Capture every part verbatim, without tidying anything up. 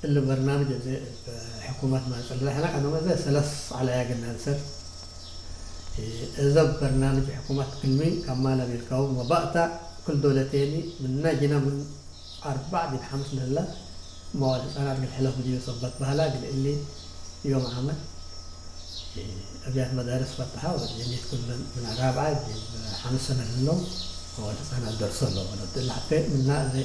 እሊ በርናምጅ እዜ እብ ሕኩመት ማጽእ ለሐነ ቀደም እዜ ሰለስ ዐለያ ግናንሰር። እዘ በርናምጅ ሕኩመት ክልሚ ከማ ለቤልካሁ ወባእታ ክል ዶለቴኒ ምነ ጅነ ምን አርበዕ ዲብ ሐምስ ለህለ መዋል ህጻናት እግል ሕለፍ ብድዩ ሰበት በህላ እግል እሊ ዮም ዓመት አብያት መዳርስ ፈትሐ ወጀኒት ኩለን ምን ራብዓ ዲብ ሐምስ ሰነ ለህለው መዋል ህጻናት ደርሶ ለወለት እለ ሐቴ ምና እዜ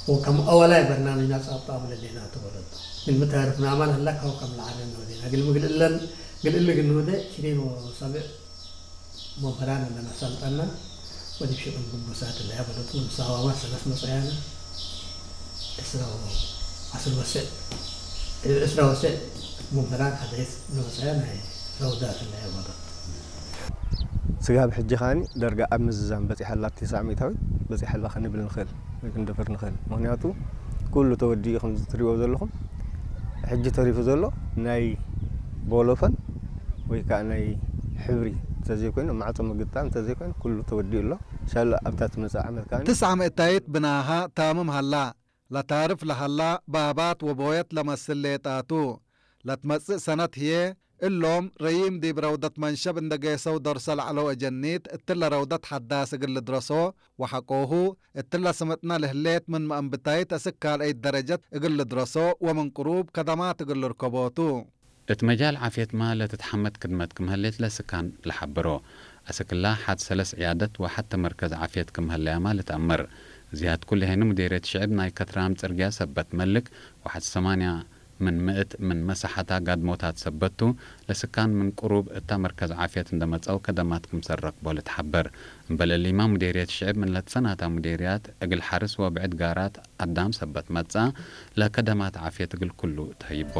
ወከም አወላይ በርናምጅና ጻብጣቡ ለዴናቱ ወለቱ። ምን ምታርፍነ አማን ህለ ከው ከም ለዐረነ ወዴና። እግል ምግል እለን፣ እግል እሊ ግኑደ ሽኒን ወሰብዕ መምህራን እንደ መሰልጠና ወዲብ ሽቅል ግቡሳት እለ ያበለቱ ምሳዋማ ሰለስ መጽአያነ እስረ ወ-፣ አስር ወሰዕ፣ እስረ ወሰዕ መምህራን ሐደይስ እንደ መጽአያ ናይ ረውዳት እለ ያበለቱ። ስጋብ ሕጂ ካኒ ደርጋ ኣብ ምዝዛም በጺሐ ኣላ፣ ትስዓ ሚእታዊት በጺሐ ኣላ ክንብል ንኽእል ወይ ክንደፍር ንኽእል። ምኽንያቱ ኩሉ ተወዲኡ ከምዚ ትሪእዎ ዘለኹም፣ ሕጂ ተሪፉ ዘሎ ናይ ቦሎፈን ወይ ከኣ ናይ ሕብሪ እንተዘይኮይኑ፣ ማዕጾ ምግጣም እንተዘይኮይኑ፣ ኩሉ ተወዲኡ ኣሎ። ሻላ ኣብታ ትመጽእ ዓመት ከኣ ትስዓ ሚእታዊት ብናሃ ታምም ሀላ። ለታርፍ ለሀላ ባባት ወቦየት ለመስል ሌጣቱ። ለትመጽእ ሰነት ህዬ፣ እሎም ረዪም ዲብ ረውደት መንሸብ እንደ ጌሰው ደርሶ ለዐለው አጀኒት፣ እትለ ረውደት ሐዳስ እግል ልድረሶ ወሐቆሁ፣ እትለ ስምጥነ ለህሌት ምን መአንብታይት እስክ ካልአይት ደረጀት እግል ልድረሶ ወምን ቅሩብ ከደማት እግል ልርከቦቱ። እት መጃል ዓፍየትመ ለትትሐመድ ክድመት ክም ህሌት ለስካን ለሐብሮ። አስክላ ሐድ ሰለስ ዕያደት ወሐቴ መርከዝ ዓፍየት ክም ህለያመ ልትአመር። ዝያድ ኩሉ ሄኑ ሙዴርየት ሽዕብ ናይ ከትራም ጽርግያ ሰበት መልክ ወሐድ ሰማንያ ምን ምእት ምን መሳሐታ ጋድሞታት ሰበት ቱ፣ ለስካን ምን ቅሩብ እታ መርከዝ ዓፍየት እንደ መጽአው ከደማት ክምሰል ረክቦ ልትሐበር። እምበል እሊመ ሙዴርየት ሽዕብ ምን ለትሰናታ ሙዴርያት እግል ሐርስ ወብዕድ ጋራት አዳም ሰበት መጽአ፣ ለከደማት ዓፍየት እግል ኩሉ ተህይቦ።